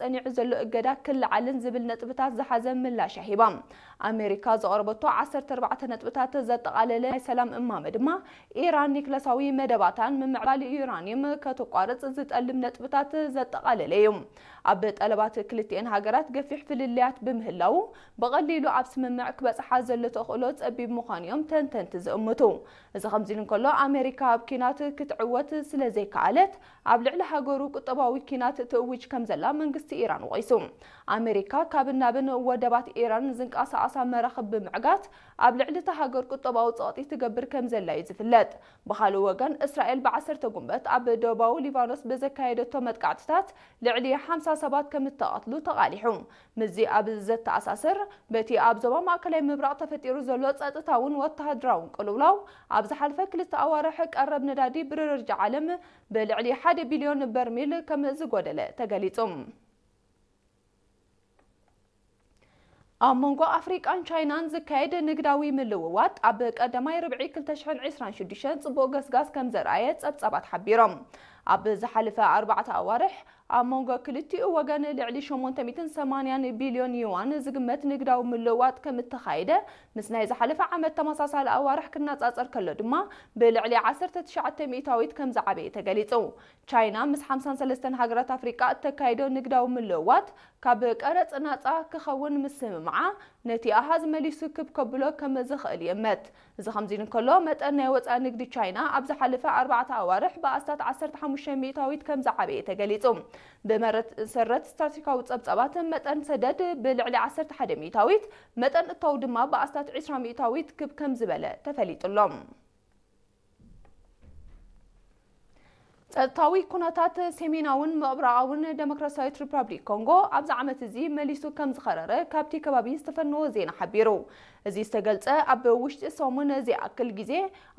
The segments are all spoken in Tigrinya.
ጸኒዑ ዘሎ እገዳ ክለዓልን ዝብል ነጥብታት ዝሓዘ ምላሽ ሂባ። ኣሜሪካ ዘቕረበቶ ዓሰርተ ኣርባዕተ ነጥብታት ዘጠቓለለ ናይ ሰላም እማመ ድማ፣ ኢራን ኒክለሳዊ መደባታን ምምዕባል ዩራኒየም ከተቋርጽ ዝጠልብ ነጥብታት ዘጠቓለለ እዩ። ኣብ ጠለባት ክልቲኤን ሃገራት ገፊሕ ፍልልያት ብምህላዉ፣ ብቐሊሉ ኣብ ስምምዕ ክበጽሓ ዘሎ ተኽእሎ ጸቢብ ምዃኑ እዮም ተንተንቲ ዝእምቱ። እዚ ከምዚ ኢሉ እንከሎ፣ ኣሜሪካ ኣብ ኲናት ክትዕወት ስለ ዘይከኣለት፣ ኣብ ልዕሊ ሃገሩ ቁጠባዊ ኲናት ትእውጅ ከም ዘላ መንግስቲ ኢራን ወቒሱ። ኣሜሪካ ካብን ናብን ወደባት ኢራን ዝንቀሳቐሳ መራኽብ ብምዕጋት፣ ኣብ ልዕሊ እታ ሃገር ቁጠባዊ ጸቕጢ ትገብር ከም ዘላ እዩ ዝፍለጥ። ብኻልእ ወገን፣ እስራኤል ብዓሰርተ ጉንበት ኣብ ደቡባዊ ሊባኖስ ብዘካየደቶ መጥቃዕትታት ልዕሊ ሓምሳ ሰባት ከም እተቐትሉ ተቓሊሑ። ምስዚ ኣብ ዘተኣሳስር፣ በቲ ኣብ ዞባ ማእከላይ ምብራቕ ተፈጢሩ ዘሎ ጸጥታውን ወተሃደራውን ቅልውላው፣ ኣብ ዝሓለፈ ክልተ ኣዋርሕ ቀረብ ነዳዲ ብደረጃ ዓለም ብልዕሊ ሓደ ቢልዮን በርሚል ከም ዝጎደለ ተገሊጹ። ኣብ መንጎ ኣፍሪቃን ቻይናን ዝካየድ ንግዳዊ ምልውዋጥ፣ ኣብ ቀዳማይ ርብዒ ክልተ ሽሕን ዕስራን ሽዱሽተን ጽቡቕ ገስጋስ ከም ዘርኣየ ጸብጻባት ሓቢሮም። ኣብ ዝሓለፈ ኣርባዕተ ኣዋርሕ፣ ኣብ መንጎ ክልቲኡ ወገን ልዕሊ ሸሞንተ ሚእትን ሰማንያን ቢልዮን ዩዋን ዝግመት ንግዳዊ ምልውዋጥ ከም እተኻየደ፣ ምስ ናይ ዝሓለፈ ዓመት ተመሳሳሊ ኣዋርሕ ክነጻጸር ከሎ ድማ፣ ብልዕሊ ዓሰርተ ትሽዓተ ሚእታዊት ከም ዝዓበየ ተገሊጹ። ቻይና ምስ ሓምሳን ሰለስተን ሃገራት ኣፍሪቃ እተካይዶ ንግዳዊ ምልውዋጥ ካብ ቀረጽ ናጻ ክኸውን ምስምምዓ፣ ነቲ ኣሃዝ መሊሱ ክብ ከብሎ ከም ዝኽእል ይእመት። እዚ ከምዚ ኢሉ እንከሎ፣ መጠን ናይ ወጻኢ ንግዲ ቻይና ኣብ ዝሓለፈ ኣርባዕተ ኣዋርሕ ብኣስታት ዓሰርተ ሓሙሽተ ሚእታዊት ከም ዝዓበየ ተገሊጹ። ብመሰረት ስትራቴጂካዊ ጸብጻባት፣ መጠን ሰደድ ብልዕሊ ዓሰርተ ሓደ ሚእታዊት፣ መጠን እታው ድማ ብኣስታት ዕስራ ሚእታዊት ክብ ከም ዝበለ ተፈሊጡ ኣሎ። ጸጥታዊ ኩነታት ሰሜናውን ምብራቓውን ደሞክራሲያዊት ሪፓብሊክ ኮንጎ ኣብዚ ዓመት እዚ መሊሱ ከም ዝኸረረ ካብቲ ከባቢ ዝተፈነወ ዜና ሓቢሩ። እዚ ዝተገልጸ፣ ኣብ ውሽጢ ሰሙን ዝኣክል ግዜ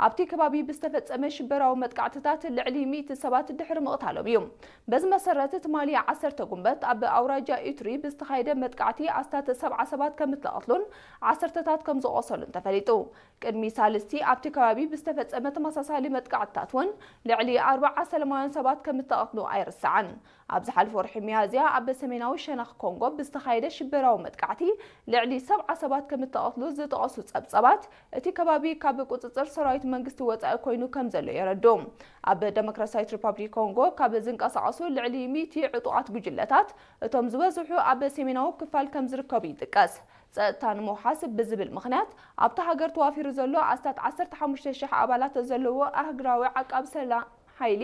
ኣብቲ ከባቢ ብዝተፈጸመ ሽበራዊ መጥቃዕትታት ልዕሊ ሚእቲ ሰባት ድሕሪ ምቕታሎም እዩ። በዚ መሰረት፣ ትማሊ ዓሰርተ ጉንበት ኣብ ኣውራጃ ኢቱሪ ብዝተኻየደ መጥቃዕቲ ኣስታት ሰብዓ ሰባት ከም እተቐትሉን ዓሰርተታት ከም ዝቖሰሉን ተፈሊጡ። ቅድሚ ሳልስቲ ኣብቲ ከባቢ ብዝተፈጸመ ተመሳሳሊ መጥቃዕትታት እውን ልዕሊ ኣርብዓ ሰላማውያን ሰባት ከም እተቐትሉ ኣይርሳዕን። ኣብ ዝሓለፈ ወርሒ ሚያዝያ ኣብ ሰሜናዊ ሸነኽ ኮንጎ ብዝተኻየደ ሽበራዊ መጥቃዕቲ ልዕሊ ሰብዓ ሰባት ከም እተቐትሉ ዝጠቐሱ ጸብጻባት፣ እቲ ከባቢ ካብ ቁጽጽር ሰራዊት መንግስቲ ወጻኢ ኮይኑ ከም ዘሎ የረዱ። ኣብ ደሞክራሲያዊት ሪፓብሊክ ኮንጎ ካብ ዝንቀሳቐሱ ልዕሊ ሚእቲ ዕጡቓት ጉጅለታት፣ እቶም ዝበዝሑ ኣብ ሰሜናዊ ክፋል ከም ዝርከቡ ይጥቀስ። ጸጥታ ንምውሓስ ብዝብል ምኽንያት፣ ኣብታ ሃገር ተዋፊሩ ዘሎ ኣስታት ዓሰርተ ሓሙሽተ ሽሕ ኣባላት ዘለዎ ኣህጉራዊ ዓቃብ ሰላም ሓይሊ፣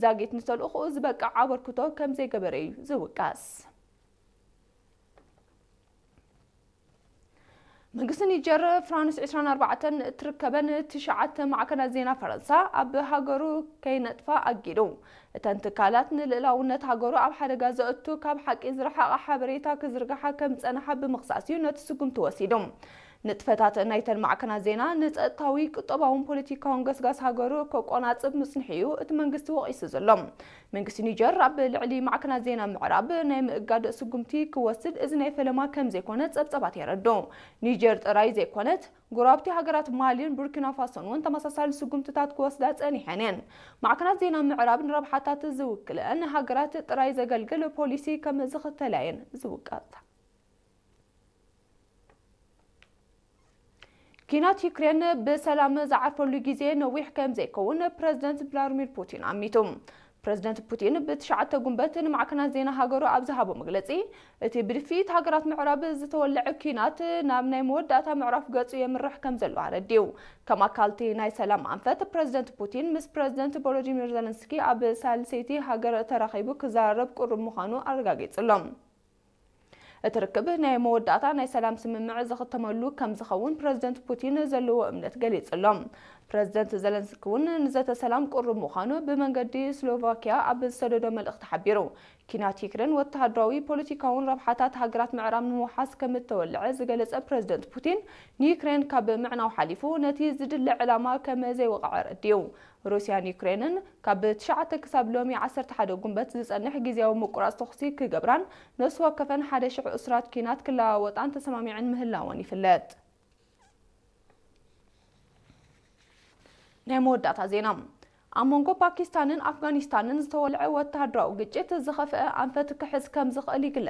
ዛጊት ንተልእኾኡ ዝበቅዕ ኣበርክቶ ከም ዘይገበረ እዩ ዝውቀስ። መንግስቲ ኒጀር፣ ፍራንስ ዕስራን ኣርባዕተን እትርከበን ትሽዓተ ማዕከናት ዜና ፈረንሳ ኣብ ሃገሩ ከይነጥፋ ኣጊዱ። እተን ትካላት፣ ንልእላውነት ሃገሩ ኣብ ሓደጋ ዘእቱ፣ ካብ ሓቂ ዝረሓቐ ሓበሬታ ክዝርግሓ ከም ዝጸንሓ ብምኽሳስ እዩ ነቲ ስጉምቲ ወሲዱ። ንጥፈታት ናይተን ማዕከናት ዜና ንጸጥታዊ፣ ቁጠባውን ፖለቲካውን ገስጋስ ሃገሩ ከቆናጽብ ምጽንሑ እዩ እቲ መንግስቲ ወቒሱ ዘሎ። መንግስቲ ኒጀር ኣብ ልዕሊ ማዕከናት ዜና ምዕራብ ናይ ምእጋድ ስጉምቲ ክወስድ፣ እዚ ናይ ፈለማ ከም ዘይኮነ ጸብጻባት የረድኡ። ኒጀር ጥራይ ዘይኮነት፣ ጎረባብቲ ሃገራት ማሊን ቡርኪና ፋሶን እውን ተመሳሳሊ ስጉምትታት ክወስዳ ጸኒሐን እየን። ማዕከናት ዜና ምዕራብ ንረብሓታት ዝውክልአን ሃገራት ጥራይ ዘገልግል ፖሊሲ ከም ዝኽተላ እየን ዝውቀሳ። ኲናት ዩክሬን ብሰላም ዝዓርፈሉ ግዜ ነዊሕ ከም ዘይከውን ፕረዚደንት ቭላድሚር ፑቲን ኣሚቱ። ፕረዚደንት ፑቲን ብትሽዓተ ጉንበት ንማዕከናት ዜና ሃገሩ ኣብ ዝሃቦ መግለጺ፣ እቲ ብድፍኢት ሃገራት ምዕራብ ዝተወልዐ ኲናት ናብ ናይ መወዳእታ ምዕራፍ ገጹ የምርሕ ከም ዘሎ ኣረዲኡ። ከም ኣካል እቲ ናይ ሰላም ኣንፈት፣ ፕረዚደንት ፑቲን ምስ ፕረዚደንት ቮሎዲሚር ዘለንስኪ ኣብ ሳልሰይቲ ሃገር ተራኺቡ ክዘራረብ ቅሩብ ምዃኑ ኣረጋጊጹ ኣሎ። እቲ ርክብ ናይ መወዳእታ ናይ ሰላም ስምምዕ ዝኽተመሉ ከም ዝኸውን ፕረዚደንት ፑቲን ዘለዎ እምነት ገሊጹ ኣሎ። ፕረዚደንት ዘለንስኪ እውን ንዘተ ሰላም ቅሩብ ምዃኑ ብመንገዲ ስሎቫኪያ ኣብ ዝሰደዶ መልእኽቲ ሓቢሩ። ኲናት ዩክሬን ወተሃደራዊ፣ ፖለቲካውን ረብሓታት ሃገራት ምዕራብ ንምውሓስ ከም እተወልዐ ዝገለጸ ፕረዚደንት ፑቲን፣ ንዩክሬን ካብ ምዕናው ሓሊፉ ነቲ ዝድለ ዕላማ ከም ዘይወቕዐ ኣረዲኡ። ሩስያን ዩክሬንን ካብ ትሽዓተ ክሳብ ሎሚ ዓሰርተ ሓደ ጉንበት ዝጸንሕ ግዝያዊ ምቁራጽ ተኹሲ ክገብራን ነፍሲ ወከፈን ሓደ ሽሕ እሱራት ኲናት ክለዋወጣን ተሰማሚዐን ምህላወን ይፍለጥ። ናይ መወዳእታ ዜና። ኣብ መንጎ ፓኪስታንን ኣፍጋኒስታንን ዝተወልዐ ወተሃደራዊ ግጭት ዝኸፍአ ኣንፈት ክሕዝ ከም ዝኽእል ይግለጽ።